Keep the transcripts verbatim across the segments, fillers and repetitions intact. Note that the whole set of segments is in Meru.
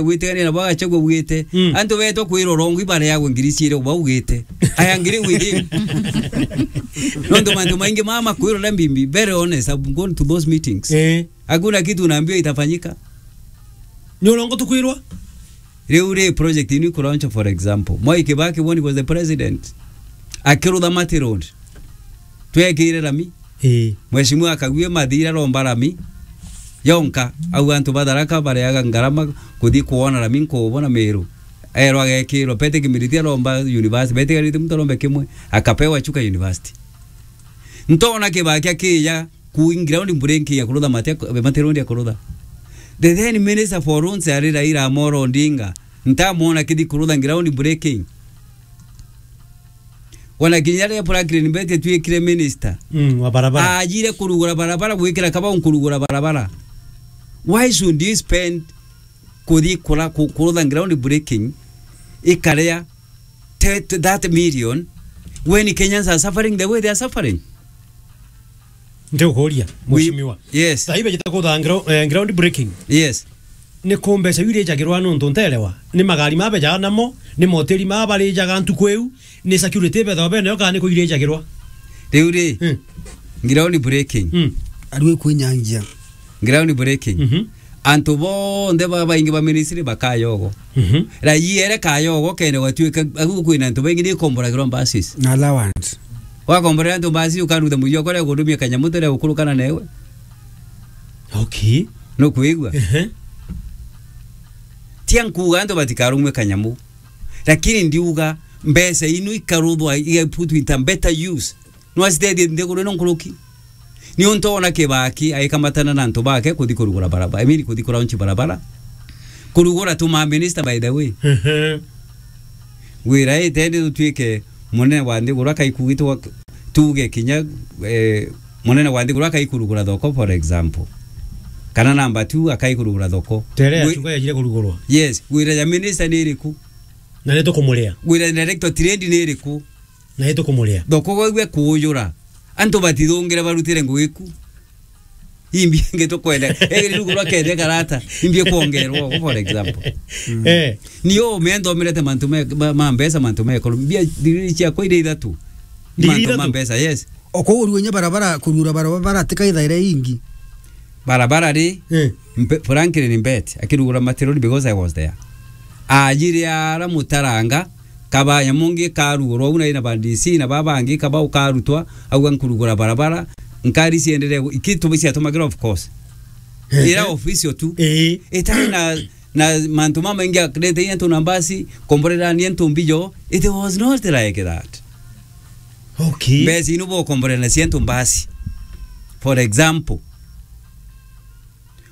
gwitigania nabo agachagua bwite. Mm. Antu betwa kwirwa urongo ibareagwe ngiri ciiri ubaugite. Aya ngiri within. Nontu mantu maingi mama kwirwa na mbimbi. Very honest, I've gone to those meetings. Eh. Hakuna kitu unaambiwa itafanyika. Ni urongo tukwirwa? Riu ri project inu ikulaunch, for example. Mwai Kibaki, when he was the president, akirutha Mati Road. Twekire rami. Ii. Mheshimiwa Kagwe Mathira aromba rami. Yonka, au antu ba Tharaka bareaga ngarama kuthi kuona rami nkubona Meru. Erwa agekirwa, Pete Kimiriti aromba university, Pete Kimiriti muntu arombe kimwe, akapewa Chuka University. Ntona Kibaki akija, ku ground breaking ya kurutha Mati, Mati Road ya kurutha. The then minister for roads ari Raila Amolo Odinga. Ntamwona kithi kurutha ground breaking. Ona kinya riria Franklin Beti atuikire minister. Mm, wa barabara. Ajire kurugura barabara, gwikira kabau kurugura barabara. Why should you spend kuthi kura-, ku-, kurutha ground breaking, ikaria te-, te-, that million when Kenyans are suffering the way they are suffering? Ndigukuria, we-, mheshimiwa. Yes. Thaa ibeje ta kutha gro-, eh, ground breaking. Yes. Ni ku mbeca iu irijagirwa nontu nterewa? Ni magari mabejaga namo, ni moteri mabarijagwa ntuku iu, ni security ibethagwa benayo kana ni ku irijagirwa? Riu ri, hmm, ground breaking. Hmm. Arue kwinyangia. Ground breaking. Mhm. Antu bonthe babaingi ba ministry bakayogo. Mhm. Raia ere kayogo kene gwatuika, agu kwina antu baingi ni ikomboragirwa buses. Na allowance. Wakomborera antu mbasi ukaruta muyo kore gudumia kanyamu tere ukurukana newe. Okay. Nukwigua? Ehe. Tia nkuga antu batikarumwe kanyamu. Lakini ndiuga mbeca inu ikaruthwa, iga put into better use. Nwacitethie nthiguru ino nkuruki. Niuntu ona Kibaki aikamatana na antu bake kuthi kurugura barabara. I mean, kuthi kuraunchi barabara. Kurugura tu ma minister, by the way. Ehe. Wira itendi tutuike munene wa nthiguru akaikugitwa tuge kinya, eh, munene wa nthiguru akaikurugura thoko, for example. Kana number two akaikurugura thoko. Tere ya Wi- chuka yajire kurugurwa. Yes, wira ya minister ni iriku? Na ni tukumuria. Wira ya director trade ni iriku? Na ni tukumuria. Thoko gwe kuujura. Antu batithungire barutire ngugi ku. Imbi nge tukwenda. Eri rugu rwa kende karata. Imbi kuongerwa, for example. Mm. Eh. Ni o mendo omerete mantu me, ma, ma mbeca, mantu me economy. Mbia ndigiri ciakwa iria ithatu. Ndigiri mantu ma ithatu? Mbeca, yes. Okuurua inya barabara, kurura barabara, tika ithaire ingi. Barabara ri, eh, Mbe-, Franklin Mbeti, akirugura Mati Road because I was there. Ajire ara Mutaranga, kaba nyamu ngi karugurwa, au na ina ba D C na baba bangi, kaba ukarutwa, au nkurugura barabara, nkari cienderee gu-, iki tu-, ciatumagira, of course. Ehe. Ira official tu. Ii. Itari na, na mantu mamaingi akrete antu na mbasi, komborerania antu mbijo. It was not like that. Okay. Mbeca inu bokomborera nacio antu mbasi. For example,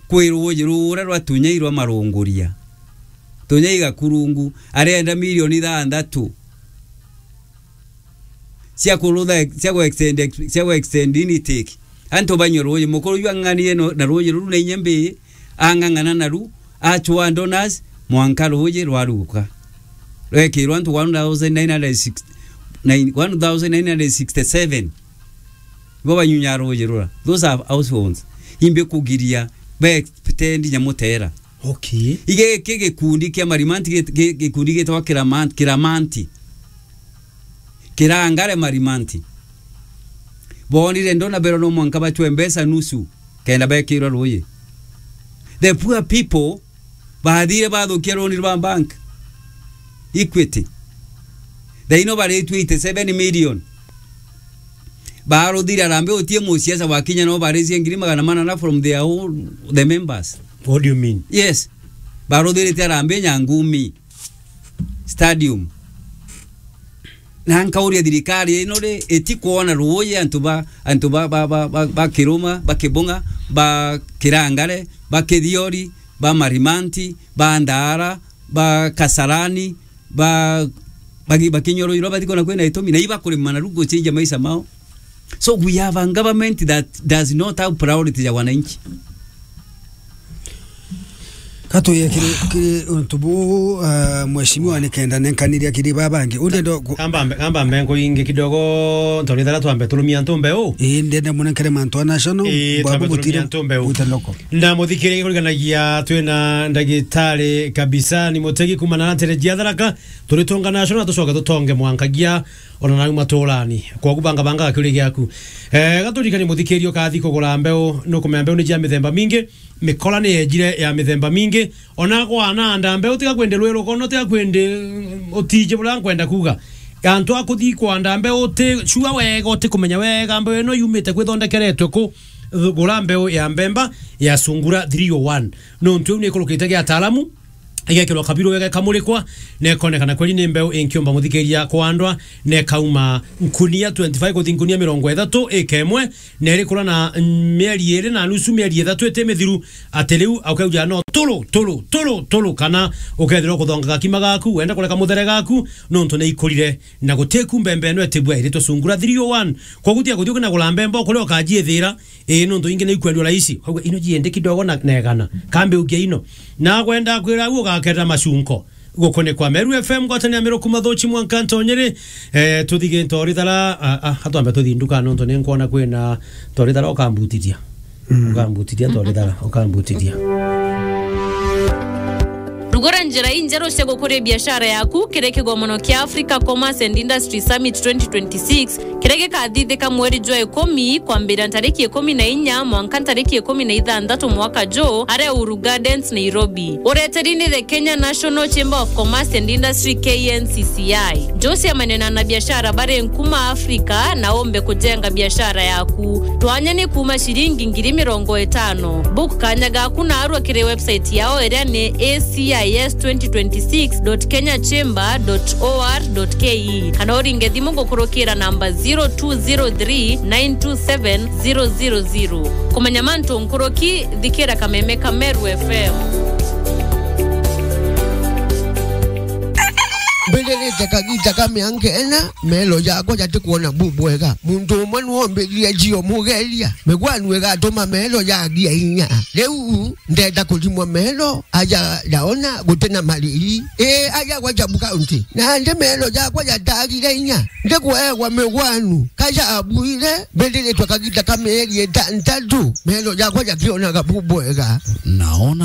kwi ruuji ruria rwa Tunyai rwa Marunguria. Tunyai Gakurungu arenda milioni ithanthatu cia kurutha, cia ku extend, cia ku extend intake. Antu banywe ruuji. Mukuru yu ang'ang'anire no, na ruuji ruru na inya mbii, ang'ang'ana naru, achwa donors, mwanka ruuji rwaruka. Rwekirwa antu one thousand nine hundred sixty, nine, one thousand nine hundred sixty-seven. Ibo banyunya ruuji rura. Those are households. Imbi kugiria, be extend Nyamutera. Okay. Ige ki gikundi kia Marimanti, gi-, gi-, gikundi gitwa Kiraman-, Kiramanti. Kirangare Marimanti. Bonire ndona bero no mwanka bachwe mbeca nusu, kenda bekirwa ruuji. The poor people bathire bathukia roni rwa bank. Equity. Thaino baritue eighty-seven million. Baruthire arambe utie musiasa wakinya no barizie ngiri magana manana from their own, the members. What do you mean? Yes. Baruthirite arambe Nyangumi Stadium. Na nkauria thirikari ino ri, itikwona ruuji antu ba, antu ba, ba, ba, ba, ba Kiruma, ba Kibunga, ba Kirangare, ba Kithiori, ba Marimanti, ba Ndara, ba Kasarani, ba, ba, ba Kinyoro, iro batikona kwina itumi, na iba kurima na rugo change maisha mao. So we have a government that does not have priority ya wananchi. Katuye kiri, kiri untu bu, ah, mheshimiwa ni kenda nenkaniria kiri babangi. Undi ndo ku- Kamba mbe, kamba mbe nkuingi kidogo, ntori thara twambe turumia antu mbeu. Ii, ndenda munenkere mantu a national, Ii, bwabu twambe turumia butire, antu mbeu. Bute loko. Na muthikiri kuriganagia twina ndagitari kabisa, ni Mutegi kumana na ntere jia Tharaka, turitonga national, tucoke tutonge mwankagia, ona nau maturani. Kwogu banga banga gakiuri giaku. Eh, gaturikani muthikiri ukathi kugura mbeu, nukumea mbeu ni jia mithemba mingi. Mikola ni yejire ya mithemba mingi. Ona kwana anda mbeu, tiga kwende rwi rukono, tiga kwende, mm, utiji buria nkwenda kuuga. Antu a kuthi kwanda mbeu, uti sure wega, uti kumenya wega mbeu ino yumite kwithondekeretwe ku. Gura mbeu ya mbemba ya Sungura three oh one. Nontu iu ni ikurukite gia ataalamu, igekirwa kabiru wega, ikamurikwa, na ikonekana kweli ni mbeu inkiumba muthikiria kwandwa, na ikauma nkunia twenty-five kuthi nkunia mirongo ithatu ika imwe, na irikura na mieri iri na nusu, mieri ithatu iti mithiru, ati riu aukauja no turu, turu, turu, turu, kana ukethirwa kuthonga gakima gaku, wenda kureka muthere gaku, nontu ni ikurire, na gutiku mbembe ino itibua iritwe Sungura three oh one. Kwogu tiga kuthi ukinagura mbembe ukuria ukajiithira, ii, nontu ingi ni ikwendua rahisi. Ukauga, "Ino jiende kidogo na, na igana. Kambe ukia ino." Na gwenda kwira u ugaketa macunko. Gukunikwa Meru F M, ngwataniro ya Meru kuma Thuchi mwanka Ntonyere. Eh, tuthige ntori thara, ah, ah, atwambe tuthi nduka nontu ni nkwona kwina ntori thara ukambutithia. Mm. Ukambutithia ntori thara, ukambutithia. Rugura njira injeru cia gukuria biashara yaku kiri kigomono kia Africa Commerce and Industry Summit twenty twenty-six, kiria gikathithika mweri jwa ikumi kwambira ntariki ikumi na inya mwanka ntariki ikumi na ithanthatu mwaka juu, aria Uhuru Gardens, Nairobi. Ureteri ni the Kenya National Chamber of Commerce and Industry, K N C C I. Njucia manene na biashara bari nkuma Afrika na umbe kujenga biashara yaku. Twanya ni kuma ciringi ngiri mirongo itano. Book kanya gaku na arua kiri website yao iria ni A C I S twenty twenty-six dot kenya chamber dot O R dot K E, kana uringe thimu gukurukira namba zero two zero three nine two seven zero zero zero. Kumenya mantu nkuruki, thikira kameme ka Meru F M. Mbirite kagita ka mianka ina, melo jakwa jatikwona bu bwega. Muntu umwe niwe ombiririe jio mugeria. Migwanu igatuma melo jagia inya. Riu ndenda kurimwa melo, aja ndaona gutina mariri. Ii, aja gwa Jabu County. Nandi melo jakwa jatagire inya. Ndikweegwa migwanu. Kaja abuire, mbiriritwe kagita ka mieri itantatu. Melo jakwa jakionaga bu bwega. Naona